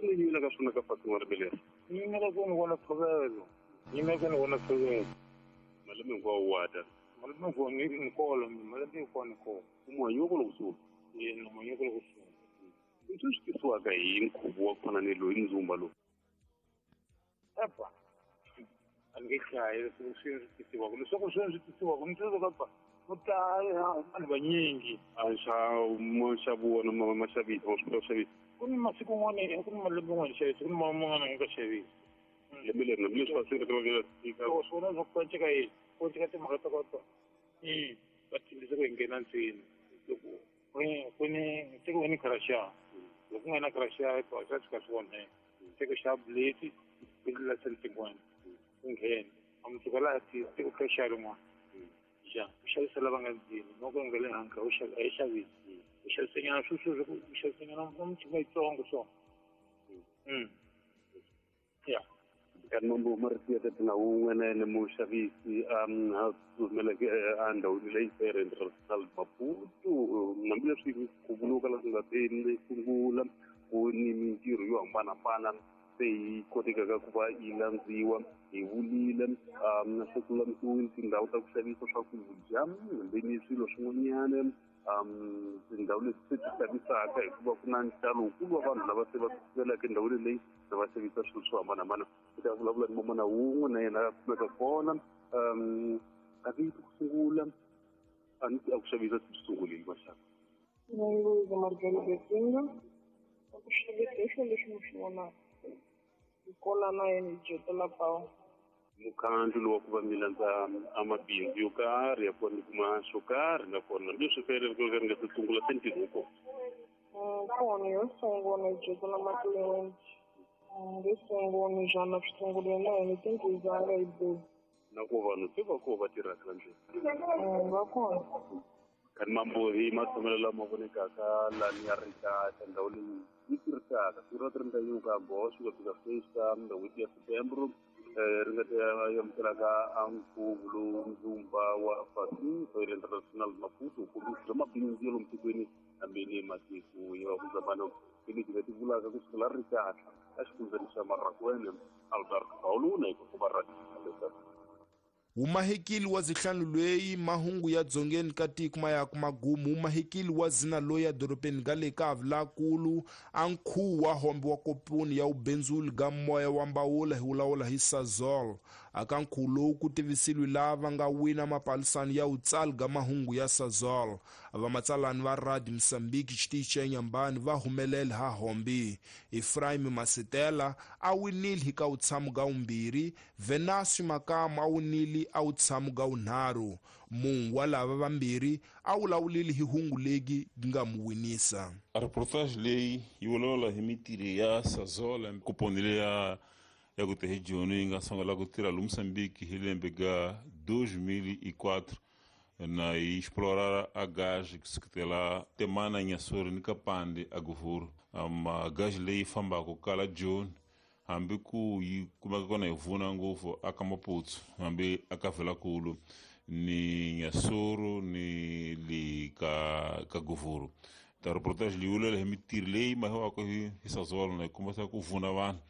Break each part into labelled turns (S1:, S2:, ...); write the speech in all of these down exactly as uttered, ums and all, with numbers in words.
S1: mi yimela ka swona ka Fatima Ribeleri?
S2: Ni yimela ku ni vona ntshovelo, ni yimela ku ni vona ntshovelo.
S1: Malembe hinkwawo wa ta?
S2: Malembe hinkwawo ni ni kolo malembe hinkwawo ni kolo.
S1: Manyoko loko sungula?
S2: Yena manyoko loko sungula.
S1: Leswi swi tisiwaka hi nkhuvo wa ku fana ni loyi ndzumba lowu?
S2: Epa, a ni nge hlayi leswi swi tisiwaka, leswaku swi swi tisiwaka ni tsundzuka pa ku tala vanhu vanyingi.
S1: A nxavo nxavo wona ma ma xavisa ma swi kota ku xavisa?
S2: Ku ni masiku n'wana ku ni malembe n'wana xavisa, ku ni man'wana nga xavisi.
S1: Lembe leri na leswi va swi ri va fika.
S2: Swona swa ku cinca yini? Ku cinca timhaka ta kota. I va tshembisa ku hi nghena ntsena. Loko ku ni tiko ni kharaxa. Loko ku nga na kharaxa pa swa tshika swi onheka. Tiko xa bleti ku la tin'wana. Ku nghena. A mutsuka laha tiko kharaxa rin'wana. Ja, u xavisa lava nga ndzeni, loko nga le handle u xavisa, a yi xavisi. U xavisa nyana swi swi u xavisa nyana michini yitsongo so. Mm. Ya.
S1: Kanti mambo marito ya tata wun'we na yena muxavisi a humeleke endhawini leyi Fair International Maputo, hambileswi ku vuriwaka leswi nga te sungula ku ni mintirho yo hambanahambana se yi kotekaka ku va yi landziwa hi vulile se ku lulamisiwile tindhawu ta ku xavisa swakudya hambi ni swilo swin'wanyana tindhawu leti se ti xavisaka hikuva ku na nxalo wukulu wa vanhu lava se va tsutsumela endhawini leyi va xavisa swilo swo hambanahambana. Hi ta vulavula ni mamana wun'we na yena a kumeka kona kasi ku sungula a ni a ku xavisa swi sungulile maxaka.
S3: Luiza Margelo Betinga, a ku xavisa hi swilo leswi mi swi vonaka. Hi kola na yena hi dyetela pawu.
S1: Mukhandlu lowu wa ku va mi landza a mabindzu yo karhi ya ku va mi kuma xo karhi nakona hambileswi fere ri nga se sungula se ntirho wu kona.
S3: Kona yo sungula hi dyetela matliliniki. Yo sungula njhani swi sungulile na hina tinghizanga hi buyi.
S1: Na ku vanhu se va koho va tirhaka la ndlwini?
S3: Va kona.
S1: Kanti mambo hi matshamelo lama vonekaka lani ya ri kahle ndhawu leyi yi tirhisaka siku ra tirhi yin'we ka goxo ku fika sweswi ka n'hweti ya September ri nga ta amukelaka a nkhuvo lowu ndzumba wa Fatima Fair International Maputo kombisa bya mabindzu ya lomu tikweni hambi ni matiko ya vakudzamano hi leti nga ti vulaka ku sukela ri kahle a xifundzeni xa Marakwene Albert Pauluna hi ku va ra
S4: Umahekili wa zihlanu lweyi mahungu ya dzongeni ka tiko ma ya ku magumu. Umahekili wa zina loyi edorobeni ga le ka Avulakulu a nkhuvo wa hombe wa kopuni ya ubenzuli ga moya wa mbawula hi wulawula hi Sasol. Aka nkhuvo lowu ku tivisiliwe lava nga wina mapalisano ya utsali ga mahungu ya Sasol. Vamatsalani va Radio Mozambique xitichi xa Inhambane va humelela ha hombe. Ephraim Masetela a winile hi ka utshamo ga umbirhi, Venasio Makamo a winile a wutshamo ga wunharhu. Munhu wa lava vambirhi a wulawulile hi hungu legi nga mu winisa.
S5: A reportage leyi yi vulavula hi mintirho ya Sasol kuponi leya ya ku te hi Joni yi nga sungula ku tirha lomu Mozambique hi lembe ga dois mil e quatro na yi explorar a gás kusukela Temana Inhassoro ni Kapande a Govuro. A gás leyi fambaka kala Joni hambi ku yi kumeka kona hi vuna ngopfu aka Maputo hambi aka Velakulu ni Inhassoro ni le ka ka Govuro. Ta reportage leyi vulavula hi mintirho leyi mahiwaka hi hi Sasol na yi kombisa ku vuna vanhu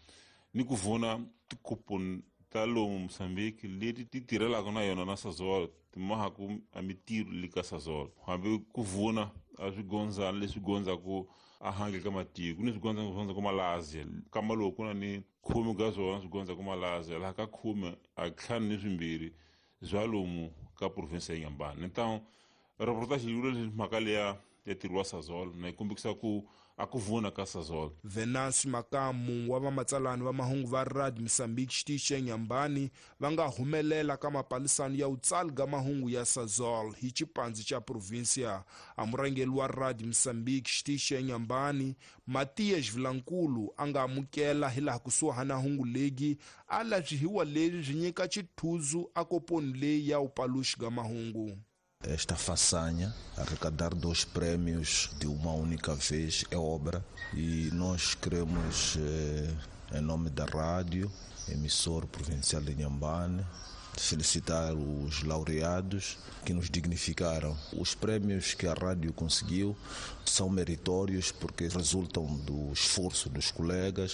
S5: ni ku vuna tikoponi ta lomu Mozambique leti ti tirhelaka na yona na Sasol ti mahaku a mintirho le ka Sasol hambi ku vuna a swigondzana leswi gondzaku a handle ka matiko ku ni swigondza swi ku Malaysia kama loku ku na ni khume ka swona swi gondza ku Malaysia laha ka khume a ntlhanu ni swimbirhi bya lomu ka province ya Inhambane. Então reportage yi vula leswi mhaka leya ya ntirho wa Sasol na yi kombisa ku a ku vuna ka Sasol.
S4: Venancio Makamu wa vamatsalani va mahungu va Radio Mozambique xitichi xa Inhambane va nga humelela ka mapalisano ya utsali ga mahungu ya Sasol hi xipandzi xa provincia. A murhangeri wa Radio Mozambique xitichi xa Inhambane Matias Vilankulu a nga amukela hi laha kusuhana hungu legi a lavyihiwa leri byi nyika xithuzu a koponi leyi ya upaluxi ga mahungu.
S6: Esta façanha, arrecadar dois prêmios de uma única vez, é obra. E nós queremos, eh, em nome da rádio, emissor provincial de Inhambane, felicitar os laureados que nos dignificaram. Os prêmios que a rádio conseguiu são meritórios porque resultam do esforço dos colegas.